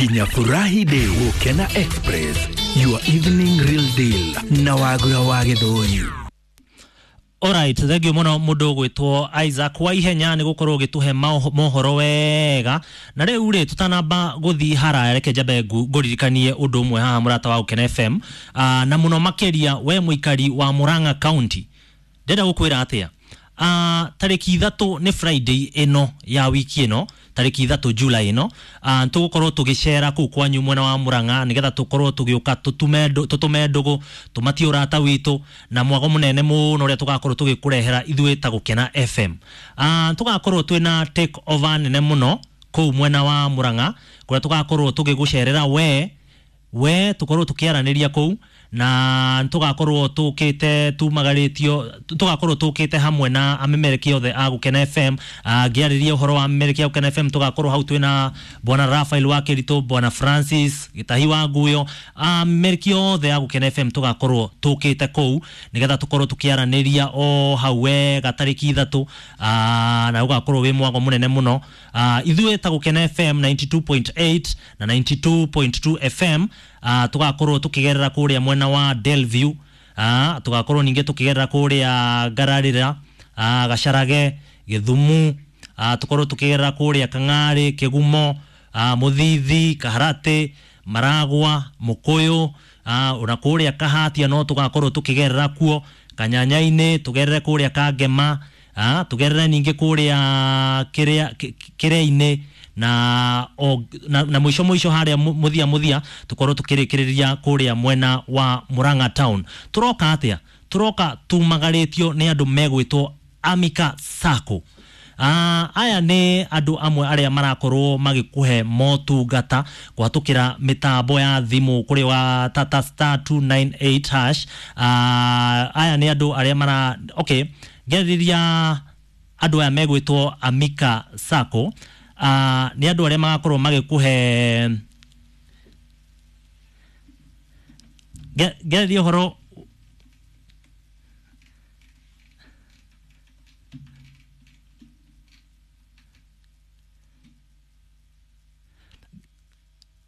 Nginya furahi day. Gukena Express, your evening real deal na Wagura wa Githũi. Alright, thank you muno mundu gwitwo Isaac wa ihenya ni gukorwo gituhe mohoro wega. Na riu ri tutanamba guthi haraya, reke njambe nguririkanie undu umwe haha murata wa Gukena FM, na muno makiria we muikari wa Murang'a County. Ndenda gukwira atia, tariki 3 ni Friday ino ya wiki ino, tariki 3 July ino, tugukorwo tugicera kuu kwanyu mwena wa Murang'a nigetha tukorwo tugiuka tutume ndugu tumatie urata witu na mwago munene muno uria tugakorwo tugikurehera ithuĩ ta Gukena FM. Tugakorwo twina take over nene muno kuu mwena wa Murang'a kuria tugakorwo tugigucerera we tukorwo tukiaraniria kuu, na tugakorwo tukite tumagaritio, tugakorwo tukite hamwe na amemereki othe a Gukena FM. Ngiarĩria ũhoro wa amemereki a Gukena FM, tugakorwo hau twina bwana Rafael wa Kĩritũ, bwana Francis Gĩtahi wa Nguyo, amemereki othe a Gukena FM tugakorwo tukite kuu nigetha tukorwo tukiaranĩria o hau wega tarĩki 3, na ugakorwo wĩ mwago mũnene mũno. Ithuĩ ta Gukena FM 92.8 na 92.2 FM, tugakorwo tukigerera kuria mwena wa Delview, tugakorwo ningi tukigerera kuria Ngararira, Gacarage, Githumu, tukorwo tukigerera kuria Kang'ari, Kigumo, Muthithi, Kaharati, Maragwa, Mukuyu, ona kuria Kahatia no tugakorwo tukigerera kuo, Kanyanya-ini tugerere kuria Kangema, tugerere ningi kuria Kiria-ini na mwisho mwisho haria muthia muthia tukorwo tukirikiriria kuria mwena wa Murang'a town. Turoka atia? Turoka tumagaritio ni andu megwitwo Amika Sacco. Aya ni andu amwe aria marakorwo magikuhe motungata kuhatukira mitambo ya thimu kuri wa tata star 298 hash. Aya ni andu aria mara okay ngeriria andu aya megwitwo Amika Sacco. Ni andu aria magakorwo magikuhe ngeriria uhoro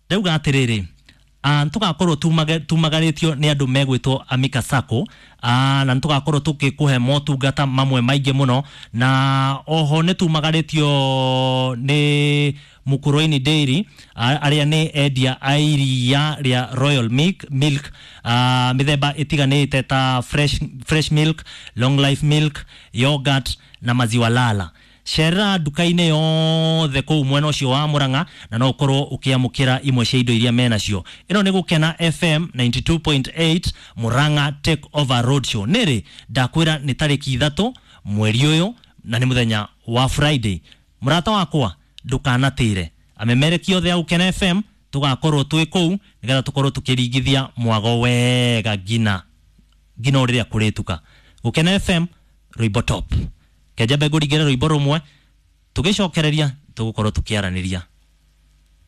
ndauga atiriri, tugakorwo tumagarĩtio nĩ andũ megwĩtwo Amika Sacco, na tugakorwo tukikuhe motungata mamwe maingĩ mũno, na oho nĩ tumagarĩtio nĩ Mukuruini Dairy, arĩa nĩ endia a iria rĩa Royal Milk, mĩthemba ĩtiganĩte ta fresh milk, long life milk, yogurt na maziwa lala. Cerera nduka-inĩ yothe kũu mwena ũcio wa Murang'a na no ũkorwo ũkĩamũkĩra imwe cia indo iria menacio. Ĩno nĩ Gukena FM 92.8 Murang'a Take Over Road Show. Nĩrĩ ndakwĩra nĩ tarĩki 3 mweri ũyũ na nĩ mũthenya wa Friday. Mũrata wakwa ndũkanatĩre, amemereki othe a Gukena FM tũgakorwo twĩ kũu nĩgetha tũkorwo tũkĩringithia mwago wega ngina rĩrĩa kũrĩtuka. Gukena FM rwĩmbo top. Kenjambe ngũringĩre rwĩmbo rũmwe tugicokereria tugukorwo tukiaraniria.